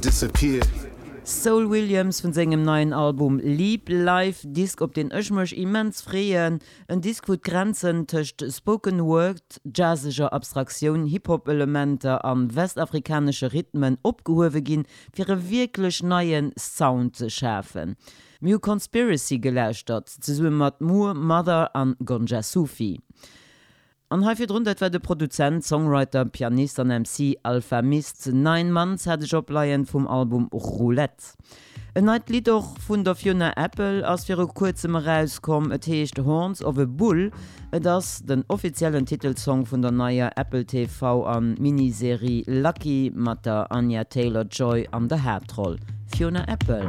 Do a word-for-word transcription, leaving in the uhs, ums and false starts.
Disappear. Saul Williams vun sengem neien Album Leap Life, Disk op deen ech mech immens freeën. En Disk wou d'Grenzen tëscht Spoken Word, jazzeger Abstraktioun, Hip-Hop-Elementer an westafrikanesche Rhythmen opgehuewe ginn, fir e wierklech neie Sound ze schafen. Mir hu Conspiracy gelauschtert, zesumme mat Moor Mother an Gonja Sufi. An hei virdrun, dat war de Produzent, Songwriter, Pianist an M C Alfa Mist. Nine Months hat ech opleien vum Album Roulette. En neit Lidd och vun der Fiona Apple ass viru kuerzem erauskomm. Et heescht Horns of a Bull. Et ass den offiziellen Titelsong vun der neier Apple T V an Miniserie Lucky mat der Anya Taylor-Joy an der Haaptroll. Fiona Apple.